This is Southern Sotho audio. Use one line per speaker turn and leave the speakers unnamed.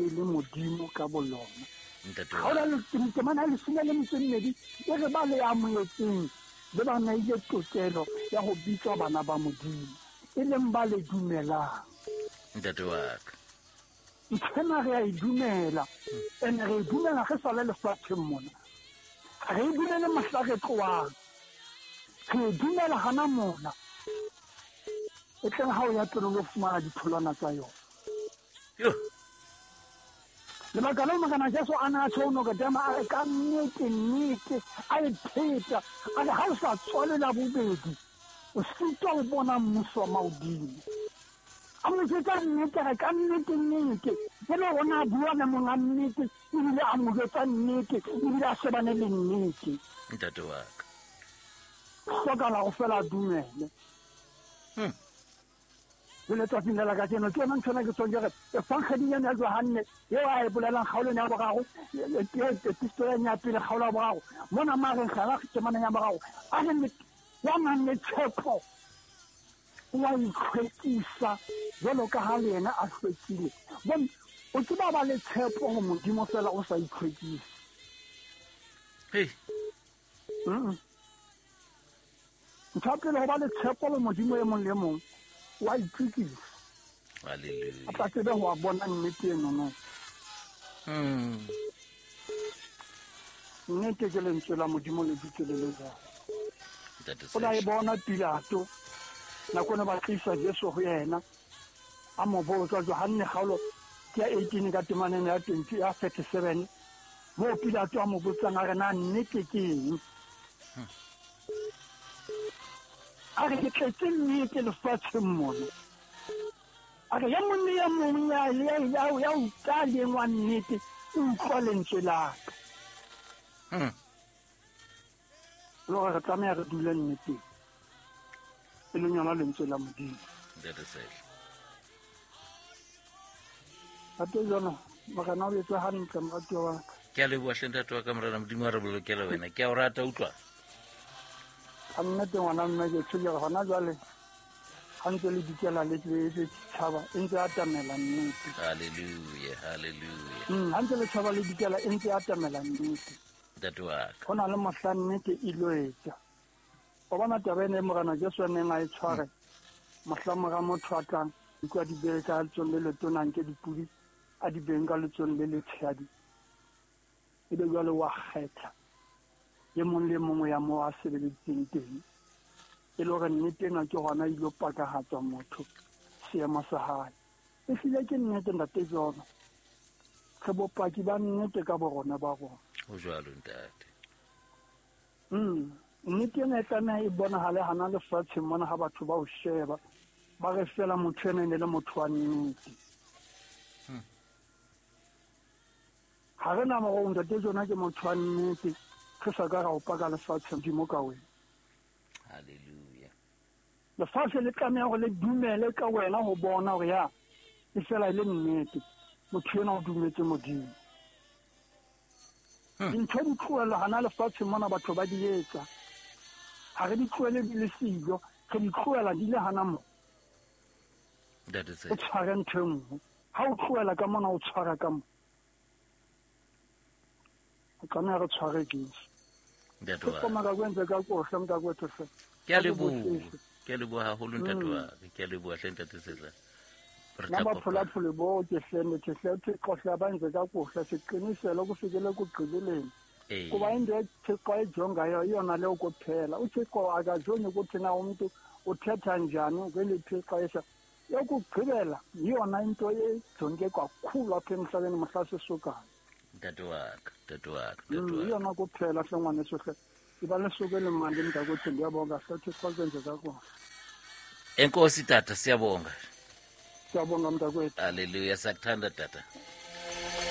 ne e le Modimo ka bolona. Kgaolo temana ya 12 e re ba le amohetseng le ba neile tokelo ya go bitswa bana ba Modimo, e leng ba le dumelang.
Ntate wa ka.
Nthwena re a e dumela, ene re e dumela ge sa le lefatsheng mona. Ga re e dumele mohla re tloang, re e dumela gana mona. E tleng ga o ya pele o fumana ditholwana tsa yona. Lebaka leo Morena Jesu a ne a tjho Nikodema a re ka nnete nnete a e pheta a re ha o sa tswale la bobedi o sitwa ho bona mmuso wa mahodimo. A mo jwetsa nnete a re ka nnete nnete e le hore a bua le monga nnete ebile a mo jwetsa nnete ebile a shebane le nnete.
Ntate wa ka.
Hlokala go fela a dumele. Le letsatsing la la kajeno ke yona ntho ena ke tshwang ke re efangeding ena ya Johanne eo a e bolelang kgaolong ya boraro, epistoleng ya pele kgaolo ya boraro mona mareng gana temaneng ya boraro a re ya nang le tshepo o a itlhwekisa jwalo ka ha le yena a hlwekile. Bon, o tseba ba le tshepo ho Modimo fela o sa itlhwekise.
Hey.
Ntho ya pele go ba le tshepo le Modimo e mong le mong wa itlhwekisa.
Hallelujah.
A tla tsebe go a bona nnete eno no. Nnete ke lentswe la Modimo le dutse le le jalo. O la e bona Pilato nako ne ba tlisa Jesu go yena a mo botsa Johanne kgaolo ke ya 18 ka temaneng ya 20 ya 37 moo Pilato a mo botsang a re na nnete ke eng. A re ke tletse nnete lefatsheng mona. A re ya mong le ya mong ya utlwa leng wa nnete o utlwa lentswe la ka. Le gore re tlameha re dule nneteng e leng yona lentswe la Modimo. Ntate Jono, Morena o etse hantle moratuwa wa ka.
Ke a leboha hle ntate wa ka, Morena Modimo a re bolokele wena. Ke a o rata utlwa.
Ka nnete ngwana mme ke tshwere hona jwale ha ntse le dikela le le tshaba e ntse atamela nnete.
Hallelujah, hallelujah.
Ha ntse le tshaba le dikela e ntse atamela nnete.
Ntate wa ka.
Ho na le mohla nnete e lo etsa. O bona taba ena e Morena Jesu a neng a e tshware mohla mora motho a tlang utlwa di behe ka letsong le letona nke dipudi a di beng ka letsong le letshehadi. Ebe jwale wa kgetha e mong le mongwe ya moo a sebeleditseng teng. E le hore nnete ena ke hona e ilo pakahatswa motho seemo sa hae. E hlile ke nnete ntate Jono. Re bopaki ba nnete ka borona ba rona.
Ho jwalo ntate.
Nnete ena e tlameha e bonahale hana lefatsheng mona ha batho ba o sheba ba re fela motho ena e ne le motho wa nnete. Ha re na morong ntate Jona ke motho wa nnete re sa ka ra o paka lefatsheng Modimo ka wena.
Hallelujah.
Lefatshe le tlameha hore le dumele ka wena ho bona hore ya e fela e le nnete motho ena o dumetse Modimo. Dintho di tlohellwa hana lefatsheng mona batho ba di etsa. Ha re di tlohele di le siyo, re di tlohela di le hana mo. O tshware ntho e nngwe. Ha o tlohela ka mona o tshwara ka mo. O tlameha re tshware Jesu.
Ntate wa.
Ke kwenze ka kohle mntakwethu hle.
Ke a leboha. Ke a leboha haholo ntate wa ka. Ke a leboha hle ntate Sehla. Re
Nna
tla kopana.
baphulaphuli boke hle ndithi hle uThixo hle abenze kakuhle siqinisele ukufikela ekugqibeleni. Kuba into uThixo ayijongayo iyona leyo kuphela. UThixo akajongi ukuthi na umntu uthetha njani kweliphi ixesha. Yokugqibela yiyona into ejonge kakhulu apha emhlabeni mhla sisukayo.
Ntate wa ka, ntate wa ka, ntate wa ka.
Iyona kuphela hle ngwaneso hle. Iba lesuku elimandi mntakwethu ndiyabonga hle uThixo akwenze kakuhle.
Enkosi tata, siyabonga.
Siyabonga mntakwethu.
Hallelujah, siyakuthanda tata.